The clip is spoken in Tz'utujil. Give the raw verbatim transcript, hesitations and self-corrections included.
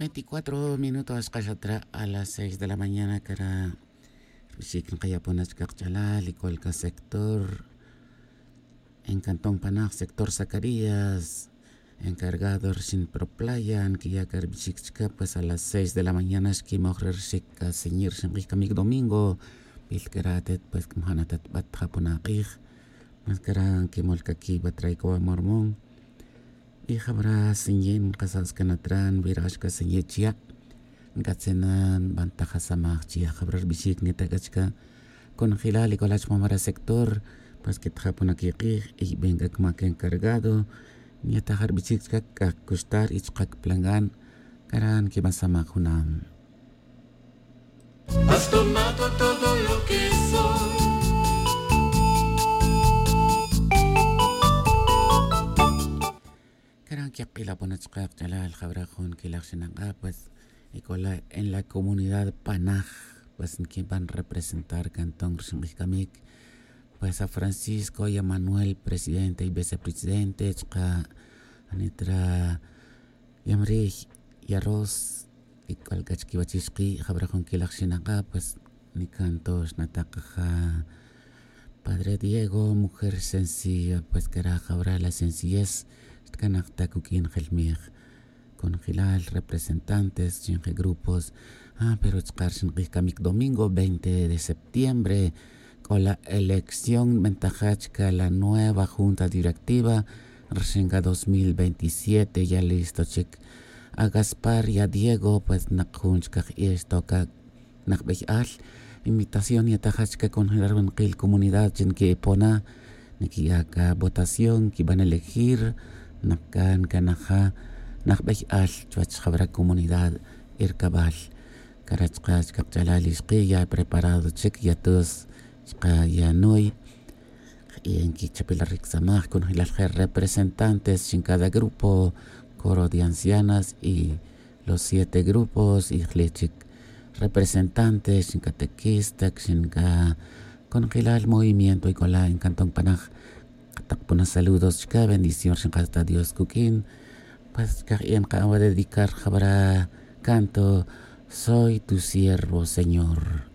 Veinticuatro minutos xkaxatra a las seis de la mañana cara. Rbixic nkayapona chka kach'alal y cualca sector en cantón panaj sector zacarías, encargado rxin proplaya nkiya' ca rbixic chka pues a las seis de la mañana xquimoj re rxic caseñir rxin k'ij camic domingo. Bil cara atet pues cmajana atet bat japona k'ij. Mas cara nquimol caquibat ray coba mormón. Y jabra sinyin nkasas canatran virax caseñir chya'. Nkatzenan bantaja samaj chya' jabra rbixic nita c'a chca. Conjelal y colach mamara sector pues que tjapona quik'ij y ben c'a cmac encargado. Nyataja rbixic chca c'a cuxtar y chka cplangan. Cara nquibasamaj junam. Has tomado todo lo que soy. Cara nquik'ilapona chka kach'alal jabra jun quilaj xinak'a pues y cola en la comunidad panaj. Pues nquiban representar cantón rxin k'ij camic pues a francisco y a manuel presidente y vicepresidente chka anitra yamriy y arroz. Y c'ol c'a chquiwachix ki' jabra jun quilaj xinak'a pues nicanto xnatakaja padre diego mujer sencilla pues cara jabra la sencillez xtcanaj ta cuq'uin jelmij. Conjelal representantes chin je grupos. Ah pero chka rxin k'ij camic domingo veinte de septiembre c'o la elección nbentaja chca la nueva junta directiva. Rxin ca dos mil veintisiete ya listo chic. A gaspar y a diego pues nak jun chca j'i'ex toca najbey al invitación yataja chca conjelar winkil comunidad chi nqui'ipona. Nquiya' ca votación quiban elegir. Nak ca ncanaja najbey al chuwech jabra comunidad. Ircabal cara chka chka kach'alal ixki ya preparado chic ya tus chka ya nuy. Y nquichapilaric samaj conjelal je representantes chin cada grupo coro de ancianas y los siete grupos y jle chic representantes chin catequista chin ca conjelal movimiento y cola en cantón panaj. Katakpona saludos chka bendición rxin kata dios cuq'uin. Pues chka j'i'en ka'an wa dedicar jabra canto soy tu siervo señor.